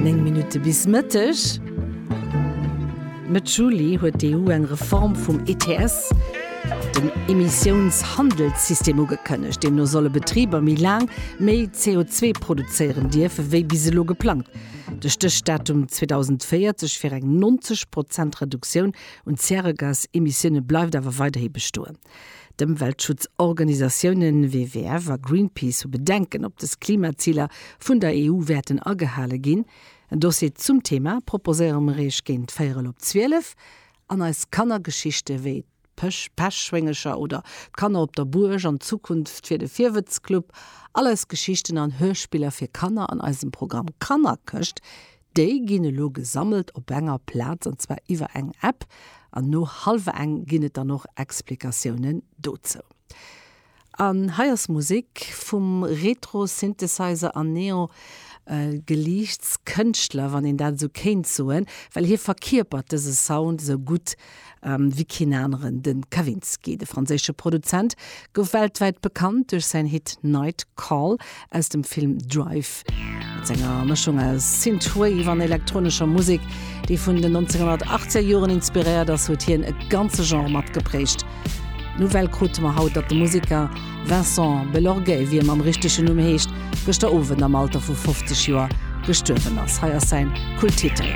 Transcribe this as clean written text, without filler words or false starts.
9 Minutte bis Mëtteg. Mëtt Juli huet d'EU eng Reform vum ETS, dem Emissiounshandelssystem, ugekënnegt. Deemno solle Betriber méi laang méi CO2 produzéieren dierfe wéi bis elo geplangt. De Stéchdatum 2040 fir eng 90 Prozent Reduktioun un Zäregasemissioune bleift awer weiderhi bestoen. D'Ëmweltschutzorganisatiounen WWF a Greenpeace hu Bedenken, ob dës Klimaziler vun der EU wäerten agehale ginn. En Dossier zum Thema proposéiere mer Iech géint véierel op 12. An eis Kannergeschichte wéi d'Pechschwéngecher oder d'Kanner op der Buerg an d'Zukunft fir de Virwëtzclub, all eis Geschichten an Hörspiller fir Kanner an eisem Programm Kannerkëscht, Déi ginn elo gesammelt op enger Plaz, an zwar iwwer eng App. An no hallwer eng ginn et dann och Explikatiounen dozou. An hei ass Musek vum Retro-Synthesizer an Neo-Geliichts-Kënschtler, wann een dat esou kéint soen, well hie verkierpert dëse Sound esou gutt wéi keen aneren. De Kavinsky, de franséische Produzent, gouf weltwäit bekannt duerch säin Hit Night Call aus dem Film Drive. Mat senger Mëschung aus Synthwave an elektronescher Musek, déi vun den 1980er Joren inspiréiert ass, huet hien e ganze Genre matgeprägt. D'Nouvelle krute mer haut, datt de Museker Vincent Belorgey, wéi e mam richtegen Numm heescht, gëschter Owend am Alter vu 50 Joer gestuerwen ass. Hei ass säin Kulttitel.